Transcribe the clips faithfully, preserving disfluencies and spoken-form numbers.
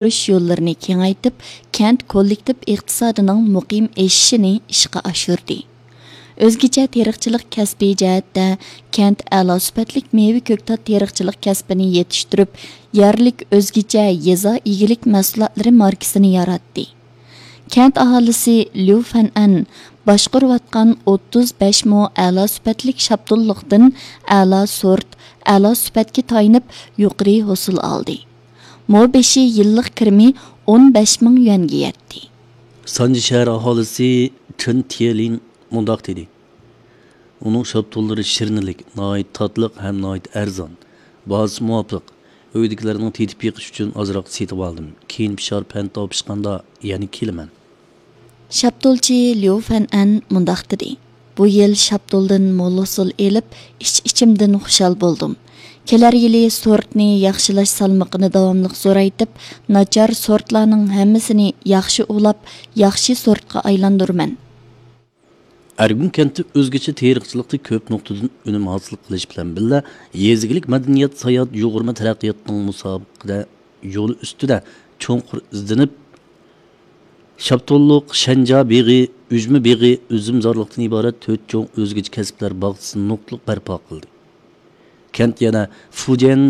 ئاشۇرۇش يوللىرىنى كېڭەيتىپ، كەنت كوللېكتىپ ئىقتىسادىنىڭ مۇقىم ئېشىشىنى ئىشقا ئاشۇردى. ئۆزگىچە تېرىقچىلىق كەسپى جەھەتتە كەنت ئەلا سۈپەتلىك مېۋە كۆكتات تېرىقچىلىق كەسپىنى يېتىشتۈرۈپ، يەرلىك ئۆزگىچە يېزا ئىگىلىك مەھسۇلاتلىرى ماركىسىنى ياراتتى. كەنت ئاھالىسى ليۇ فەنئەن باشقۇرۇۋاتقان ئوتتۇز بەش مو ئەلا سۈپەتلىك شاپتۇللۇقتىن ئەلا سورت، ئەلا سۈپەتكە تايىنىپ يۇقىرى ھوسۇل ئالدى. مو بېشى يىللىق كىرىمى ئون بەش مىڭ يۈەنگە يەتتى. سانجى شەھەر ئاھالىسى چېن تيېلىن مۇنداق دېدى: ئۇنىڭ شاپتۇللىرى شىرنىلىك، ناھايىتى تاتلىق ھەم ناھايىتى ئەرزان. باھاسى مۇۋاپىق. ئۆيدىكىلەرنىڭ تېتىپ بېقىشى ئۈچۈن ئازراق سېتىۋالدىم. كېيىن پىشار پەنتاۋ پىشقاندا يەنە كېلىمەن. شاپتۇلچى ليۇ فەنئەن مۇنداق دېدى: بۇ يىل شاپتۇلدىن مول ھوسۇل ئېلىپ، ئىچ-ئىچىمدىن خۇشال بولدۇم. كېلەر يىلى سورتنى ياخشىلاش سالمىقىنى داۋاملىق زورايتىپ، ناچار سورتلارنىڭ ھەممىسىنى ياخشى ئۇلاپ، ياخشى سورتقا ئايلاندۇرىمەن. ئەرگۈن كەنتى ئۆزگىچە تېرىقچىلىقتا كۆپ نۇقتىدىن ئۈنۈم ھاسىل قىلىش بىلەن بىللە، يېزا ئىگىلىك، مەدەنىيەت، ساياھەت، يۇغۇرما تەرەققىياتنىڭ مۇسابىقىدە يولى ئۈستىدە چوڭقۇر ئىزدىنىپ، شاپتۇللۇق، شەنجا بېغى، ئۈجمە بېغى، ئۈزۈمزارلىقتىن ئىبارەت تۆت چوڭ ئۆزگىچە كەسىپلەر باغچىسىنى نۇقتىلىق بەرپا قىلدى. كەنت يەنە فۇجيەن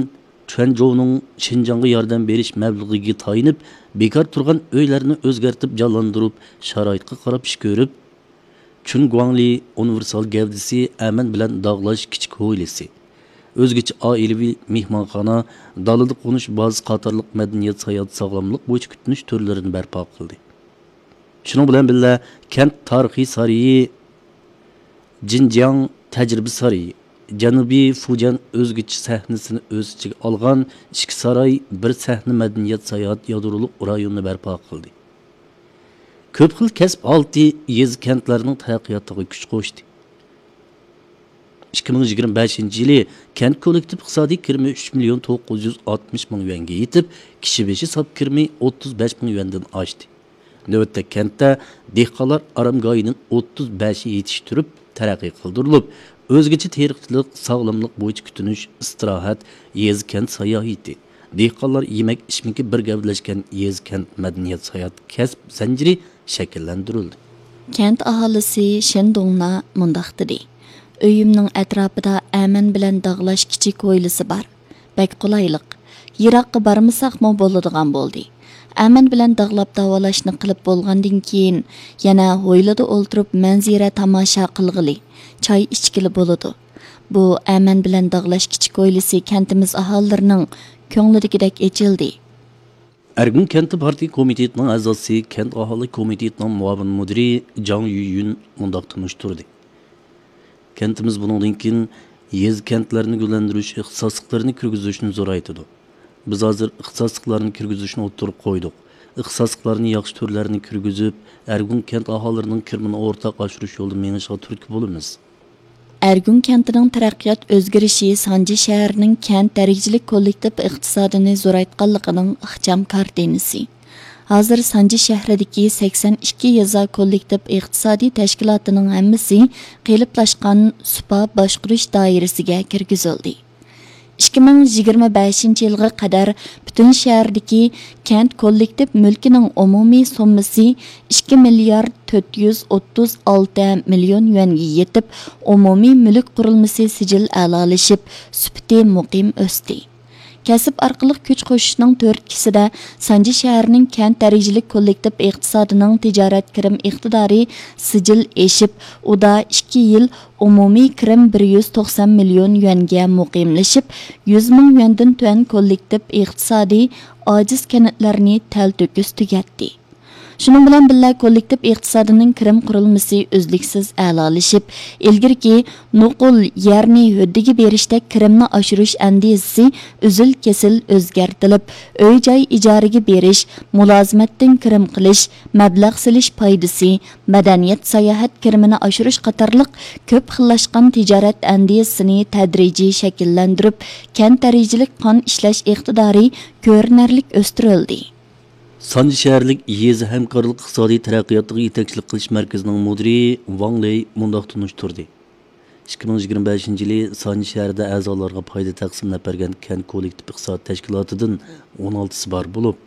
چۈەنجوۋنىڭ شىنجاڭغا ياردەم بېرىش مەبلىغىگە تايىنىپ، بىكار تۇرغان ئۆيلەرنى ئۆزگەرتىپ جانلاندۇرۇپ، شارائىتقا قاراپ ئىش كۆرۈپ، چۈن گۇاڭلى ئۇنىۋېرسال گەۋدىسى ئەمەن بىلەن داغلاش كىچىك ھويلىسى، ئۆزگىچە ئائىلىۋى مېھمانخانا، دالىدا قونۇش بازىسى قاتارلىق مەدەنىيەت، ساياھەت، ساغلاملىق بويىچە كۈتۈنۈش تۈرلىرىنى بەرپا قىلدى. شۇنىڭ بىلەن بىللە، كەنت تارىخىي سارىيى، جىنجياڭ تەجرىبە سارىيى، جەنۇبىي فۇجيەن ئۆزگىچە سەھنىسىنى ئۆز ئىچىگە ئالغان ئىككى ساراي، بىر سەھنە مەدەنىيەت، ساياھەت يادرولۇق رايونىنى بەرپا قىلدى. كۆپ خىل كەسىپ ھالىتى يېزا، كەنتلەرنىڭ تەرەققىياتىغا كۈچ قوشتى. ئىككى مىڭ يىگىرمە بەشىنچى يىلى كەنت كوللېكتىپ ئىقتىسادىي كىرىمى ئۈچ مىليون توققۇز يۈز ئاتمىش مىڭ يۈەنگە يېتىپ، كىشى بېشى ساپ كىرىمى ئوتتۇز بەش مىڭ يۈەندىن ئاشتى. نۆۋەتتە كەنتتە دېھقانلار ئارامگاھىنىڭ ئوتتۇز بەشى يېتىشتۈرۈپ تەرەققىي قىلدۇرۇلۇپ، ئۆزگىچە تېرىقچىلىق، ساغلاملىق بويىچە كۈتۈنۈش، ئىستىراھەت، يېزا، كەنت ساياھىتى، دېھقانلار يېمەك ئىچمىكى بىر گەۋدىلەشكەن يېزا، كەنت مەدەنىيەت، ساياھەت كەسىپ زەنجىرى شەكىللەندۈرۈلدى. كەنت ئاھالىسى شېن دوڭنا مۇنداق دېدى: ئۆيۈمنىڭ ئەتراپىدا ئەمەن بىلەن داغلاش كىچىك ھويلىسى بار. بەك قولايلىق. يىراققا بارمىساقمۇ بولىدىغان بولدى. ئەمەن بىلەن داغلاپ داۋالاشنى قىلىپ بولغاندىن كېيىن، يەنە ھويلىدا ئولتۇرۇپ مەنزىرە تاماشا قىلغىلى، چاي ئىچكىلى بولىدۇ. بۇ ئەمەن بىلەن داغلاش كىچىك ھويلىسى كەنتىمىز ئاھالىلىرىنىڭ كۆڭلىدىكىدەك ئېچىلدى. ئەرگۈن كەنتى پارتىيە كومىتېتىنىڭ ئەزاسى، كەنت ئاھالە كومىتېتىنىڭ مۇئاۋىن مۇدىرى جاڭ يۈيۈن مۇنداق تونۇشتۇردى: كەنتىمىز بۇنىڭدىن كېيىن يېزا، كەنتلەرنى گۈللەندۈرۈش ئىختىساسلىقلىرىنى كىرگۈزۈشنى زورايتىدۇ. بىز ھازىر ئىختىساسلىقلارنى كىرگۈزۈشنى ئوتتۇرىغا قويدۇق. ئىختىساسلىقلارنى ياخشى تۈرلەرنى كىرگۈزۈپ، ئەرگۈن كەنت ئاھالىلىرىنىڭ كىرىمىنى ئورتاق ئاشۇرۇش يولىدا مېڭىشىغا تۈرتكە بولىمىز. ئەرگۈن كەنتىنىڭ تەرەققىيات ئۆزگىرىشى سانجى شەھىرىنىڭ كەنت دەرىجىلىك كوللېكتىپ ئىقتىسادىنى زورايتقانلىقىنىڭ ئىخچام كارتىنىسى. ھازىر سانجى شەھىرىدىكى سەكسەن ئىككى يېزا كوللېكتىپ ئىقتىسادىي تەشكىلاتىنىڭ ھەممىسى قېلىپلاشقان سۇپا باشقۇرۇش دائىرىسىگە كىرگۈزۈلدى. ئىككى مىڭ يىگىرمە بەشىنچى يىلغا قەدەر پۈتۈن شەھەردىكى كەنت كوللېكتىپ مۈلكىنىڭ ئومۇمىي سوممىسى ئىككى مىليارد تۆت يۈز ئوتتۇز ئالتە مىليون يۈەنگە يېتىپ، ئومۇمىي مۈلۈك قۇرۇلمىسى سىجىل ئەلالىشىپ، سۈپىتى مۇقىم ئۆستى. كەسىپ ئارقىلىق كۈچ قوشۇشنىڭ تۈرتكىسىدە، سانجى شەھىرىنىڭ كەنت دەرىجىلىك كوللېكتىپ ئىقتىسادىنىڭ تىجارەت كىرىم ئىقتىدارى سىجىل ئېشىپ، ئۇدا ئىككى يىل ئومۇمىي كىرىم بىر يۈز توقسان مىليون يۈەنگە مۇقىملىشىپ، يۈز مىڭ يۈەندىن تۆۋەن كوللېكتىپ ئىقتىسادىي ئاجىز كەنتلەرنى تەلتۆكۈس تۈگەتتى. شۇنىڭ بىلەن بىللە، كوللېكتىپ ئىقتىسادىنىڭ كىرىم قۇرۇلمىسى ئۈزلۈكسىز ئەلالىشىپ، ئىلگىرىكى نوقۇل يەرنى ھۆددىگە بېرىشتەك كىرىمنى ئاشۇرۇش ئەندىزىسى ئۈزۈل-كېسىل ئۆزگەرتىلىپ، ئۆي-جاي ئىجارىگە بېرىش، مۇلازىمەتتىن كىرىم قىلىش، مەبلەغ سېلىش پايدىسى، مەدەنىيەت، ساياھەت كىرىمىنى ئاشۇرۇش قاتارلىق كۆپ خىللاشقان تىجارەت ئەندىزىسىنى تەدرىجىي شەكىللەندۈرۈپ، كەنت دەرىجىلىك قان ئىشلەش ئىقتىدارى كۆرۈنەرلىك ئۆستۈرۈلدى. سانجى شەھەرلىك يېزا ھەمكارلىق ئىقتىسادىي تەرەققىياتىغا يېتەكچىلىك قىلىش مەركىزىنىڭ مۇدىرى ۋاڭ لېي مۇنداق تونۇشتۇردى: ئىككى مىڭ يىگىرمە بەشىنچى يىلى سانجى شەھىرىدە ئەزالارغا پايدا تەقسىملەپ بەرگەن كەنت كوللېكتىپ ئىقتىساد تەشكىلاتىدىن ئون ئالتىسى بار بولۇپ،